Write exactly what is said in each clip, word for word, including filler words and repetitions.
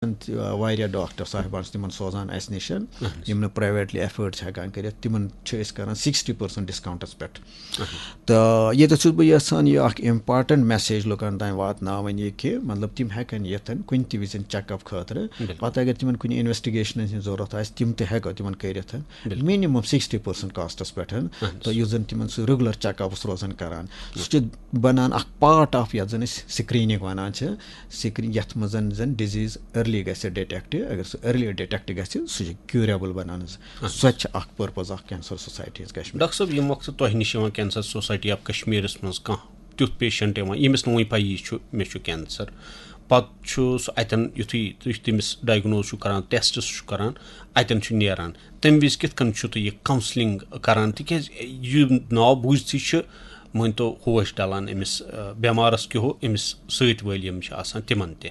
تہِ، آ، واریاہ ڈاکٹر صاحبان چھِ تِمن سوزان اَسہِ نِش، یِم نہٕ پرٛایویٹلی ایفٲرڈ چھِ ہٮ۪کان کٔرِتھ، تِمن چھِ أسۍ کران سِکِسٹی پٔرسَنٛٹ ڈِسکاوُنٛٹَس پٮ۪ٹھ۔ تہٕ ییٚتٮ۪تھ چھُس بہٕ یَژھان یہِ اَکھ اِمپاٹَنٛٹ میسیج لُکَن تام واتناوٕنۍ، یہِ کہِ مطلب تِم ہٮ۪کَن یِتھ کُنہِ تہِ وِزِ چیک اپ خٲطرٕ۔ پَتہٕ اگر تِمَن کُنہِ اِنویسٹِگیشنَن ہِنٛز ضوٚرَتھ آسہِ، تِم تہِ ہٮ۪کو تِمَن کٔرِتھ۔ مِنِمَم سِکِسٹی پٔرسَنٛٹ کاسٹَس پٮ۪ٹھ۔ تہٕ یُس زَن تِمَن سُہ ریگولر چیک اپَس روزان کران، سُہ چھُ بَنان اَکھ پارٹ آف یَتھ زَن أسۍ سِکریٖنِنٛگ وَنان چھِ۔ سِکریٖن یَتھ منٛز زَن ڈِزیٖز ارلی گژھِ ڈِٹیکٹ۔ اگر سُہ ارلی ڈِٹیکٹ گژھِ، سُہ چھُ کیوریبل بَنان حظ۔ سۄ تہِ چھِ اکھ پرپز اکھ کینسر سوسائٹی ہنٛز کشمیر۔ ڈاکٹر صٲب، ییٚمہِ وقتہٕ تۄہہِ نِش یِوان کینسر سوسائٹی آف کشمیرس منٛز کانٛہہ تیُتھ پیشنٹ یِوان، ییٚمِس نہٕ وُنہِ پَیی چھُ مےٚ چھُ کینسر، پتہٕ چھُ سُہ اتٮ۪ن یُتھُے تُہۍ تٔمِس ڈائگنوز چھُو کران، ٹیسٹس چھُ کران، اتٮ۪ن چھُ نیران، تمہِ وِزِ کِتھ کٔنۍ چھُ تُہۍ یہِ کاؤنسلنگ کران؟ تِکیازِ یہِ ناو بوٗزتھٕے چھُ، مٲنۍ تو، ہوش ڈلان أمِس، آ، بٮ۪مارس کیُہو أمِس سۭتۍ وٲلۍ یِم چھِ آسان تِمن تہِ۔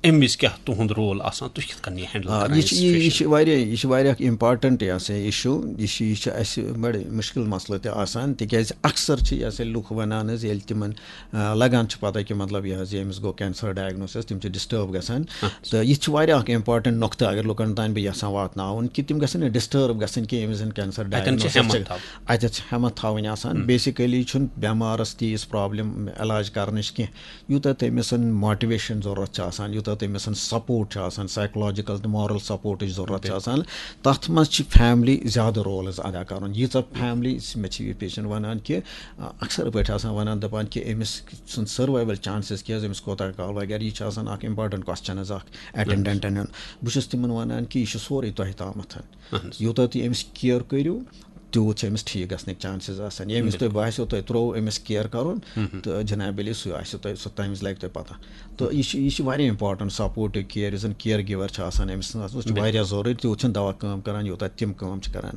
امہِ وِزِ کیٛاہ تُہُنٛد رول آسان؟ تُہۍ کِتھ کٔنۍ یہِ ہینڈل آ، کران یہِ یہِ چھِ، یہِ، یہِ situation؟ چھِ واریاہ، یہِ چھِ واریاہ اکھ امپارٹنٹ، یہِ ہسا، issue۔ یہِ چھِ، یہِ چھِ اَسہِ بڑٕ مُشکِل مسلہٕ تہِ آسان، تِکیازِ اکثر چھِ، یہِ ہسا، لُکھ وَنان حظ، ییٚلہِ تِمن، آ، لگان چھِ پتہ کہِ، مطلب، یہِ حظ، یہِ أمِس گوٚو کینسر ڈائگنوسس، تِم چھِ ڈسٹرب گژھان۔ تہٕ یہِ تہِ چھُ واریاہ اکھ امپارٹنٹ نۄقطہٕ، اگر لُکن تام بہٕ یژھان واتناوُن کہِ تِم گژھن نہٕ ڈسٹرب گژھٕنۍ کینٛہہ، ییٚمِس زن کینسر اتٮ۪ن چھِ ڈائگنوسس ہٮ۪مت چھِ، تھاوٕنۍ۔ اتٮ۪تھ چھِ ہٮ۪مت تھاوٕنۍ آسان۔ بیسیکلی چھُنہٕ بٮ۪مارس تیٖژ پرابلم علاج کرنٕچ کینٛہہ، یوٗتاہ تٔمِس ماٹِویشن ضروٗرت چھِ آسان، یوٗتاہ تٔمِس سپورٹ چھُ آسان، سائیکولوجیکل تہٕ مارل سپورٹٕچ ضروٗرت چھِ آسان، تَتھ منٛز چھِ فیملی زیادٕ رول حظ ادا کرُن۔ ییٖژاہ فیملی، مےٚ چھِ یہِ پیشنٹ وَنان کہِ، آ، اکثر پٲٹھۍ آسان وَنان، دَپان کہِ أمِس سُنٛد سٔروایول چانسز کیٛاہ حظ، أمِس کوٗتاہ کال وغیرہ، یہِ چھِ آسان اکھ امپارٹنٹ کوسچن حظ اکھ اٹینڈنٹن ہُنٛد۔ بہٕ چھُس تِمن وَنان کہِ یہِ چھُ سورُے تۄہہِ تامَتھ۔ اہن حظ۔ یوٗتاہ تُہۍ أمِس کیئر کٔرِو، تیوٗت چھِ أمِس ٹھیٖک گژھنٕکۍ چانسز آسان۔ ییٚمِس تۄہہِ باسیو تۄہہِ ترٛوو أمِس کیئر کَرُن، تہٕ جناب علی سُہ آسیو تۄہہِ، سُہ تَمہِ وِزِ لَگہِ تۄہہِ پَتہ۔ تہٕ یہِ چھِ، یہِ چھِ واریاہ امپارٹنٹ سپورٹِو کیئر، یُس زَن کیئر گِور چھِ آسان أمِس سٕنٛز آسان، سُہ چھُ واریاہ ضروٗری، تیوٗت چھِنہٕ دوا کٲم کَران، یوٗتاہ تِم کٲم چھِ کَران۔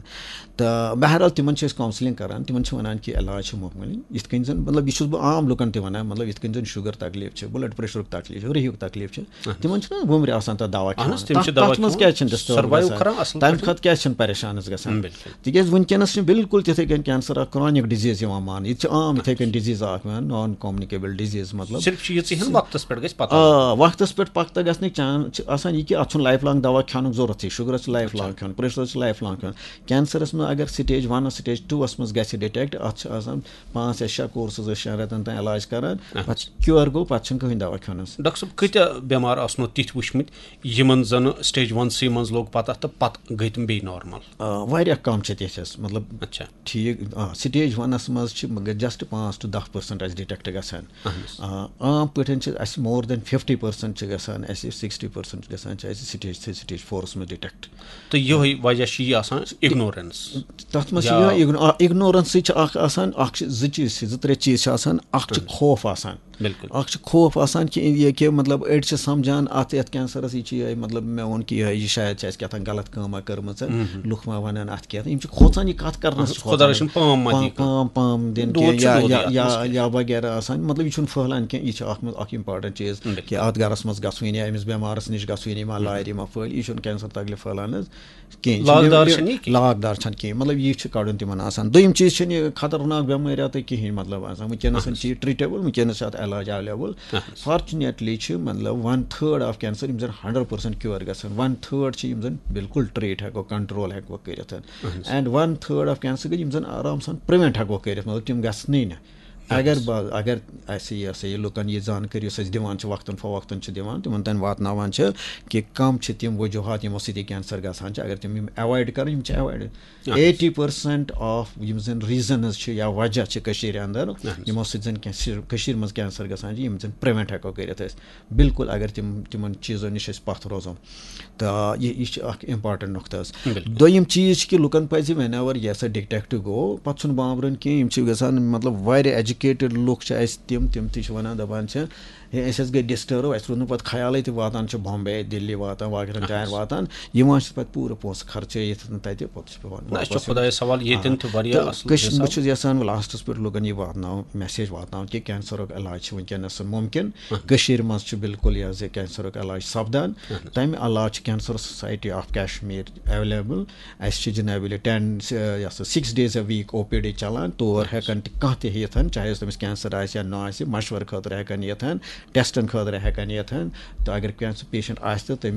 تہٕ بہرحال تِمَن چھِ أسۍ کاؤنسلنگ کَران، تِمَن چھِ وَنان کہِ علاج چھُ مُمکِن۔ یِتھ کٔنۍ زَن، مطلب، یہِ چھُس بہٕ عام لُکَن تہِ وَنان، مطلب، یِتھ کٔنۍ زَن شُگر تکلیٖف چھِ، بلڈ پریشرُک تکلیٖف چھُ، رِہُک تکلیٖف چھِ، تِمَن چھُنہٕ وُمرِ آسان تَتھ دوا اہن کھٮ۪وان۔ حظ، تِم چھِ تَتھ، دوا تَتھ منٛز کھٮ۪وان، کیٛازِ چھِنہٕ ڈسٹرب survive گژھان؟ کران اَصٕل تَمہِ پٲٹھۍ۔ کھۄتہٕ کیٛازِ چھِنہٕ پریشان حظ گژھان؟ بِلکُل۔ تِکیٛازِ وٕنکیٚنَس چھِ بِلکُل تِتھَے کٔنۍ کینسر اَکھ کرونِک ڈِزیٖز یِوان ماننہٕ۔ یہِ تہِ چھِ عام یِتھَے کٔنۍ ڈِزیٖز اَکھ یِوان، نان کومنِکیبل ڈِزیٖز، مطلب۔ صرف چھِ یِژٕے ہن وقتس پٮ۪ٹھ گژھِ پتہ۔ آ، وقتس پٮ۪ٹھ پتہ گژھنٕکۍ چانس چھِ آسان یہِ کہِ اَتھ چھُنہٕ لایف لانگ دوا کھٮ۪نُک ضوٚرتھ۔ یہِ شُگرس چھِ لایف لانگ کھیوٚن، پریشرس چھِ لایف لانگ کھیوٚن۔ کینسرس منٛز اگر سٹیج ونس، سٹیج ٹوٗوس منٛز گژھِ ڈِٹیکٹ، اَتھ چھِ آسان پانٛژھ یا شےٚ کورسز، شٮ۪ن رٮ۪تن تام علاج کران، پتہٕ کیور گوٚو، پتہٕ چھُنہٕ کٕہٕنۍ دوا کھیوٚنس۔ ڈاکٹر صٲب، کۭتیاہ بٮ۪مار آسنو تِتھۍ وٕچھمٕتۍ یِمن زن سٹیج ونسٕے منٛز لوٚگ پتہ تہٕ پتہٕ گٔے تِم بیٚیہِ نارمل؟ آ، واریاہ کم چھِ تِتھۍ حظ، مطلب، اچھا۔ ٹھیٖک، آ، سٹیج ونس منٛز چھِ مگر جسٹ پانٛژھ ٹُو دَہ پٔرسنٹ اَسہِ ڈِٹیکٹ گژھان۔ اہن حظ۔ آ، عام پٲٹھۍ چھِ اَسہِ مور دین فِفٹی پٔرسنٹ چھِ گژھان، اَسہِ سِکِسٹی پٔرسنٹ چھِ گژھان، چھِ اَسہِ سٹیج تھری، سٹیج فورس منٛز ڈِٹیکٹ۔ تہٕ یِہوٚے وجہ چھُ یہِ آسان اگنورینس۔ تَتھ منٛز چھِ یا یِہوٚے اگنو-، آ، اگنورینسٕے چھِ اکھ آسان، اکھ چھِ زٕ چیٖز چھِ، زٕ ترٛےٚ چیٖز چھِ آسان، اکھ چھُ اہن حظ۔ خوف آسان۔ بِلکُل۔ اکھ چھُ خوف آسان کہِ یہِ کہِ مطلب أڑۍ چھِ سمجھان اَتھ یَتھ کینسرس، یہِ چھِ یِہوٚے، مطلب، مےٚ ووٚن کہِ یِہوٚے، یہِ شاید چھِ اَسہِ کیٛاہ تام غلط کٲمہ کٔرمٕژ، لُکھ ما وَنَن اَتھ کینٛہہ۔ یِم چھِ کھوژان یہِ کَتھ کَرنَس، اہن حظ، چھِ خۄدا کھوژان رٔچھِنۍ پٲم ما پا-، دی کانٛہہ۔ پٲم، پٲم دِنۍ دود کینٛہہ چھُ یا، دودٕے یا، اَتھ یا، منٛز کینٛہہ۔ یا وغیرہ آسان، مطلب، یہِ چھُنہٕ پھٔہلان کینٛہہ، یہِ چھِ اَکھ منٛز اَکھ امپارٹنٹ چیٖز بِلکُل۔ کہِ اَتھ گَرَس منٛز گژھوٕنۍ یا أمِس بٮ۪مارَس نِش گژھوٕنۍ، یہِ ما لارِ، یہِ ما پھٔہلہِ، یہِ چھُنہٕ کینسر تکلیف پھٔہلان حظ۔ کینٛہہ، یہِ چھُنہٕ لاگدار یہِ چھَنہٕ یہِ کینٛہہ۔ لاگدار چھَنہٕ کینٛہہ، مطلب، یہِ چھُ کَڑُن تِمَن آسان۔ دوٚیِم چیٖز چھَنہٕ یہِ خطرناک بٮ۪مٲرۍ اَتھ کِہیٖنۍ، مطلب، آسان۔ وٕنکیٚنَس اہن حظ۔ چھِ یہِ ٹرٛیٖٹیبٕل، وٕنکیٚنَس چھِ اَتھ علاج ایویلیبٕل۔ اہن حظ۔ فارچُنیٹلی چھِ، مطلب، ون تھٲڈ آف کینسر یِم زَن ہنڈرڈ پٔرسنٹ کیور گژھان، ون تھٲڈ چھِ یِم زَن بِلکُل ٹرٛیٖٹ ہٮ۪کو، کنٹرول ہٮ۪کو کٔرِتھ۔ اہن حظ۔ اینڈ ون تھٲڈ آف کینسر گٔے یِم زَن آرام سان پرٛوینٹ ہٮ۪کو کٔرِتھ، مطلب، تِم گژھنٕے نہٕ۔ اگر بہٕ، اگر اَسہِ یہِ ہسا یہِ لُکَن یہِ زانکٲری یۄس أسۍ دِوان چھِ، وقتاً فوقتاً چھِ دِوان، تِمَن تام واتناوان چھِ کہِ کَم چھِ تِم وجوٗہات یِمو سۭتۍ یہِ کینسر گژھان چھِ۔ اگر تِم یِم ایوایڈ کَرَن، یِم چھِ ایوایڈ۔ اہن حظ۔ ایٹی پٔرسنٹ آف یِم زَن ریٖزنٕز چھِ یا وجہ چھِ کٔشیٖرِ اَندَر، اہن حظ۔ یِمو سۭتۍ زَن کینسر، کٔشیٖرِ منٛز کینسر گژھان چھِ، یِم زَن پرٛوینٹ ہٮ۪کو کٔرِتھ أسۍ۔ بِلکُل، اگر تِم، تِمَن چیٖزو نِش أسۍ پَتھ روزو۔ تہٕ یہِ، یہِ چھِ اَکھ امپارٹنٹ نۄقطہٕ حظ۔ بِلکُل۔ دوٚیِم چیٖز چھِ کہِ لُکَن پَزِ whenever یہِ ہسا ڈِٹیکٹ گوٚو، پَتہٕ چھُنہٕ بامبرُن کینٛہہ۔ یِم چھِ گژھان، مطلب، واریاہ ایجوکیٹڈ لُکھ چھِ اَسہِ تِم، تِم تہِ چھِ وَنان، دَپان چھِ، ہے، أسۍ حظ گٔے ڈِسٹٲرٕب، اَسہِ روٗد نہٕ پَتہٕ خیالٕے تہِ واتان چھِ بامبے، دِلی واتان، واریاہَن جایَن واتان، یِوان چھِ پَتہٕ پوٗرٕ پونٛسہٕ خرچٲیِتھ تَتہِ، پَتہٕ چھِ پٮ۪وان نہ، اَسہِ چھُ واپَس یُن۔ خۄدایَس حوالہٕ، ییٚتٮ۪ن آ۔ تہِ واریاہ تہٕ اَصٕل کٔش-، حِساب۔ بہٕ چھُس یَژھان وۄنۍ لاسٹَس پٮ۪ٹھ لُکَن یہِ واتناوُن، میسیج واتناوُن کہِ کینسرُک علاج چھُ وٕنکیٚنَس مُمکِن۔ کٔشیٖرِ منٛز چھُ بِلکُل یہِ حظ یہِ کینسرُک علاج سَپدان۔ تَمہِ علاوٕ چھِ cancer society of Kashmir available. اَسہِ چھِ جناب علی ٹین، یہِ ہسا، six days a week O P D چلان، تور ہٮ۪کان تہِ کانٛہہ تہِ یِتھ، چاہے چاہے سُہ تٔمِس کینسر آسہِ یا نہ آسہِ، مشورٕ خٲطرٕ ہٮ۪کان یِتھ، ٹیسٹن خٲطرٕ ہٮ۪کان یِتھ۔ تہٕ اگر کینٛہہ سُہ پیشنٹ آسہِ تہٕ تٔمِس